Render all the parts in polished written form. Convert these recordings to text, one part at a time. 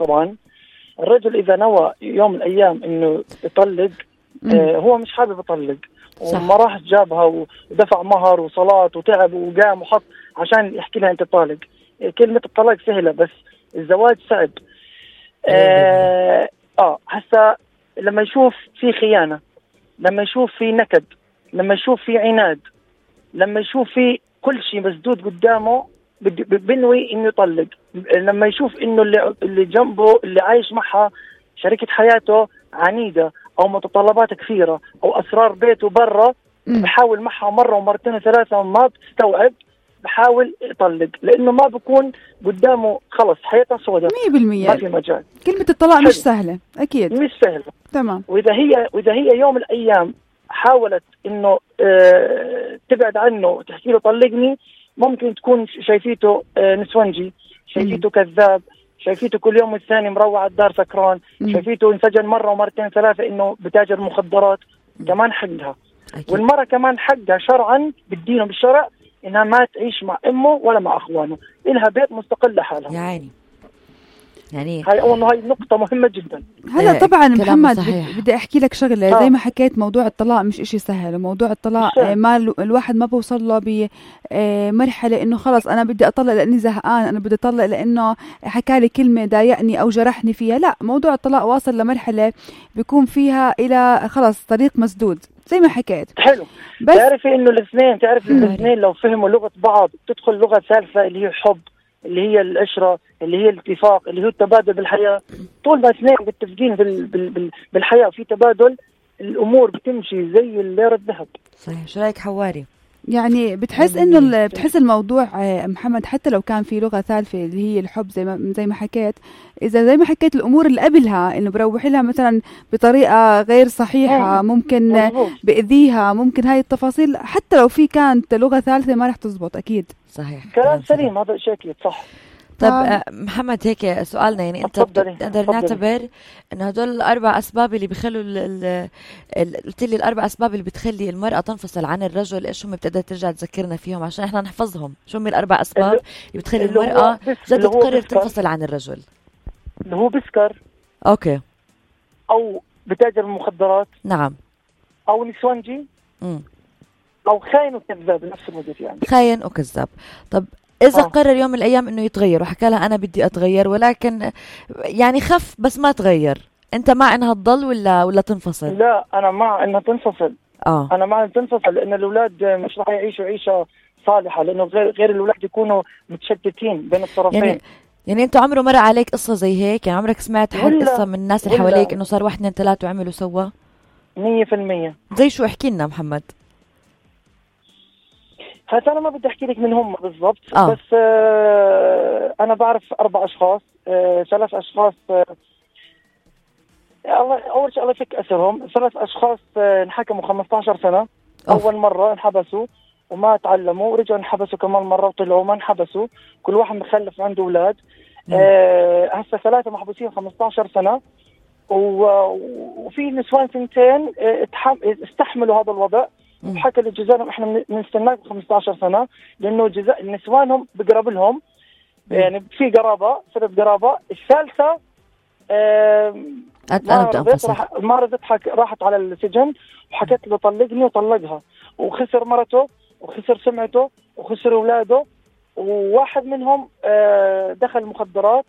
طبعا الرجل إذا نوى يوم من الأيام إنه يطلق، هو مش حابب يطلق وما راح جابها ودفع مهر وصلاة وتعب وقام وحط عشان يحكي لها أنت طالق. كلمة الطلاق سهلة بس الزواج صعب. هسا لما يشوف في خيانة، لما يشوف في نكد، لما يشوف في عناد، لما يشوف في كل شيء مسدود قدامه بنوي إنه يطلق. لما يشوف إنه اللي جنبه اللي عايش معها شريكة حياته عنيدة أو متطلبات كثيرة أو أسرار بيته برا، بحاول معها مرة ومرتين وثلاثة وما بتستوعب، بحاول يطلق لأنه ما بكون قدامه، خلص حياته سوداء 100%. ما في مجال. كلمة الطلاق مش سهلة أكيد، مش سهلة. تمام. وإذا هي يوم من الأيام حاولت إنه تبعد عنه وتحكي له طلقني، ممكن تكون شايفيته نسونجي، شايفيته كذاب، شايفيته كل يوم والثاني مروع على الدار سكران، شايفيته انسجن مرة ومرتين ثلاثة إنه بتاجر مخدرات. كمان حقها والمرة كمان حقها شرعا بالدين وبالشرع إنها ما تعيش مع أمه ولا مع أخوانه، إلها بيت مستقل لحالها. يا عيني. يعني هاي نقطة مهمة جدا. هلا طبعا محمد بدي أحكي لك شغلة. زي ما حكيت موضوع الطلاق مش إشي سهل، وموضوع الطلاق ما الواحد ما بوصل له بمرحلة إنه خلص أنا بدي أطلق لأني زهقان، أنا بدي أطلق لأنه حكالي كلمة ضايقني أو جرحني فيها. لا، موضوع الطلاق واصل لمرحلة بيكون فيها إلى خلص طريق مسدود زي ما حكيت. حلو. بس تعرفي إنه الاثنين لو فهموا لغة بعض تدخل لغة ثالثة اللي هي الحب، اللي هي العشرة، اللي هي الاتفاق، اللي هو التبادل بالحياة. طول ما اثنين متفقين بالحياة وفي تبادل، الأمور بتمشي زي الليرة الذهب. صحيح. شو رأيك حواري؟ يعني بتحس إنه بتحس الموضوع محمد حتى لو كان في لغة ثالثة اللي هي الحب زي ما حكيت، إذا زي ما حكيت الأمور اللي قبلها إنه بروح لها مثلا بطريقة غير صحيحة، ممكن بأذيها، ممكن هاي التفاصيل حتى لو في كانت لغة ثالثة ما رح تزبط أكيد. صحيح. كلام سليم، هذا شيء أكيد صح. طب محمد هيك سؤالنا، يعني انت بتقدر نعتبر انه هدول الاربع اسباب اللي بيخلوا قلت لي الاربع اسباب اللي بتخلي المرأة تنفصل عن الرجل، ايش هم؟ بتقدر ترجع تذكرنا فيهم عشان احنا نحفظهم. شو هم الاربع اسباب اللي بتخلي المرأة جد تقرر تنفصل عن الرجل؟ اللي هو بسكر، اوكي، او بتاجر المخدرات، نعم، او نسوانجي، او خاين وكذاب نفس الوقت. يعني خاين وكذاب. طب إذا قرر يوم من الأيام إنه يتغير وحكى لها أنا بدي أتغير، ولكن يعني خف بس ما تغير، أنت مع إنها تضل ولا تنفصل؟ لا، أنا مع إنها تنفصل. أنا مع إنها تنفصل لأن الأولاد مش راح يعيشوا عيشة صالحة، لأنه غير الأولاد يكونوا متشتتين بين الطرفين. يعني أنت عمره مر عليك قصة زي هيك؟ يعني عمرك سمعت حد قصة من الناس اللي حواليك إنه صار 1 2 3 وعملوا سوا؟ 100%. زي شو؟ احكي لنا محمد. هذا أنا ما بدي أحكي لك من هم بالضبط، بس أنا بعرف 4 أشخاص، 3 أشخاص أول شيء الله يفك أسرهم. 3 أشخاص انحكموا 15 سنة. أول مرة انحبسوا وما تعلموا، ورجعوا انحبسوا كمان مرة وطلعوا ما انحبسوا، كل واحد مخلف عنده أولاد. هسه 3 محبوسين 15 سنة، وفي نسوان 2 استحملوا هذا الوضع وحكى لجزائهم احنا بنستناكم 15 سنة لأنه نسوانهم بقرب لهم، يعني في قرابة، صرت قرابة. الثالثة ما رضت راحت على السجن وحكت له طلقني وطلقها، وخسر مرته وخسر سمعته وخسر أولاده، وواحد منهم دخل مخدرات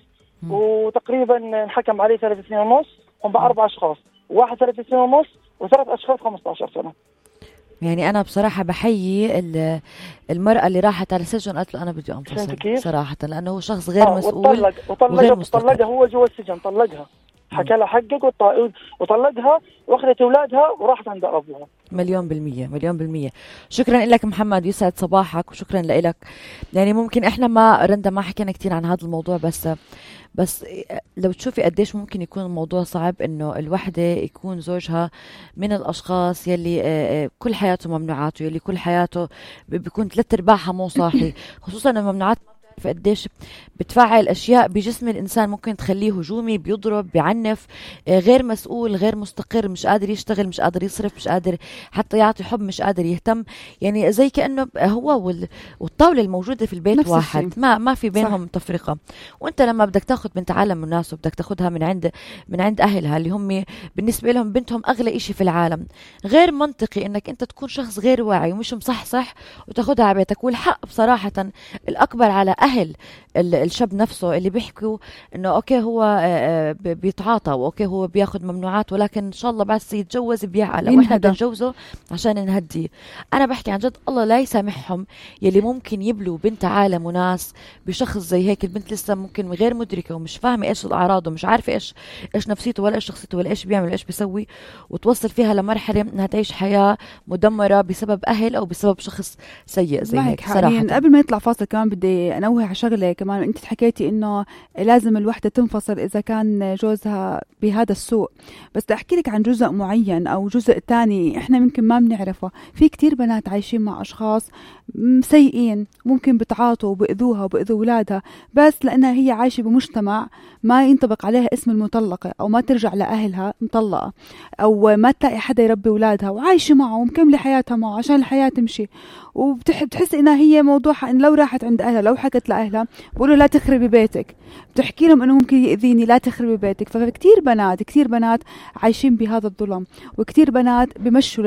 وتقريبا انحكم عليه 3 سنين ونص. هم ب4 أشخاص، واحد 3 سنين ونص و3 أشخاص 15 سنة. يعني أنا بصراحة بحيي المرأة اللي راحت على السجن قالت له أنا بدي أنفصل صراحة، لأنه هو شخص غير مسؤول وغير مستقر. طلقها هو جوا السجن، طلقها، حكى لها حقك وطلقها واخذت أولادها وراحت عند أبوها. 100%. شكرا لك محمد، يسعد صباحك وشكرا لك. يعني ممكن إحنا ما حكينا كتير عن هذا الموضوع، بس لو تشوفي قديش ممكن يكون الموضوع صعب إنه الوحدة يكون زوجها من الأشخاص يلي كل حياته ممنوعاته، يلي كل حياته بيكون 3/4 مو صاحي، خصوصا الممنوعات فقديش بتفعل أشياء بجسم الإنسان ممكن تخليه هجومي، بيضرب، بيعنف، غير مسؤول، غير مستقر، مش قادر يشتغل، مش قادر يصرف، مش قادر حتى يعطي حب، مش قادر يهتم. يعني زي كأنه هو والطبع الطاولة الموجودة في البيت واحد، ما في بينهم تفرقة. وانت لما بدك تاخد بنت عالم الناس وبدك تاخدها من عند اهلها اللي هم بالنسبة لهم بنتهم اغلى اشي في العالم، غير منطقي انك انت تكون شخص غير واعي ومش مصحصح وتاخدها على بيتك. والحق بصراحة الاكبر على اهل الشاب نفسه اللي بيحكوا انه اوكي هو بيتعاطى واوكي هو بياخد ممنوعات، ولكن ان شاء الله بعد يتجوز بيعقل او احنا بدنا نجوزه عشان نهديه. انا بحكي عن جد الله لا يسامحهم يلي ممكن يبلوا بنت عالم وناس بشخص زي هيك. البنت لسه ممكن غير مدركه ومش فاهمه ايش الاعراض ومش عارفه ايش نفسيته ولا ايش شخصيته ولا ايش بيعمل ايش بيسوي، وتوصل فيها لمرحله انها تعيش حياه مدمره بسبب اهل او بسبب شخص سيء زي هيك. صراحه قبل ما يطلع فاصل كمان بدي انوه على شغله كمان. انت حكيتي انه لازم الوحده تنفصل اذا كان جوزها بهذا السوء، بس بدي احكي لك عن جزء معين او جزء تاني احنا ممكن ما بنعرفه. في كتير بنات عايشين مع اشخاص سيئين، ممكن بتعاطوا وبأذوها وبأذوا اولادها، بس لانها هي عايشه بمجتمع ما ينطبق عليها اسم المطلقه، او ما ترجع لاهلها مطلقه، او ما تلاقي حدا يربي اولادها وعايشه معه ومكمله حياتها معه عشان الحياه تمشي. وبتحس انها هي موضوعها ان لو راحت عند اهلها لو حكت لاهلها بقولوا لا تخربي بيتك، بتحكي لهم انه ممكن يأذيني لا تخربي بيتك. فكتير بنات عايشين بهذا الظلم، وكتير بنات بمشوا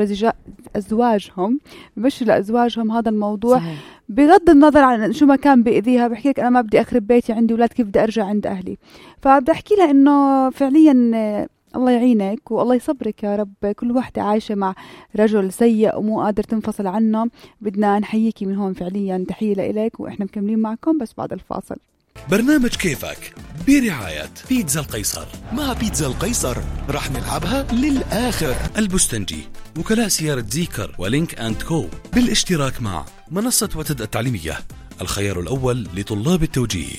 لأزواجهم هذا الموضوع. صحيح. بغض النظر عن شو ما كان بيأذيها، بحكي لك انا ما بدي اخرب بيتي، عندي اولاد كيف بدي ارجع عند اهلي. فبدي احكي لها انه فعليا الله يعينك والله يصبرك يا رب. كل واحدة عايشة مع رجل سيء ومو قادر تنفصل عنه. بدنا نحييكي من هون فعليا، تحية لإلك، وإحنا مكملين معكم بس بعد الفاصل. برنامج كيفك برعاية بيتزا القيصر. مع بيتزا القيصر رح نلعبها للآخر. البستنجي، وكلاء سيارة زيكر ولينك أند كو، بالاشتراك مع منصة وتد التعليمية، الخيار الأول لطلاب التوجيه.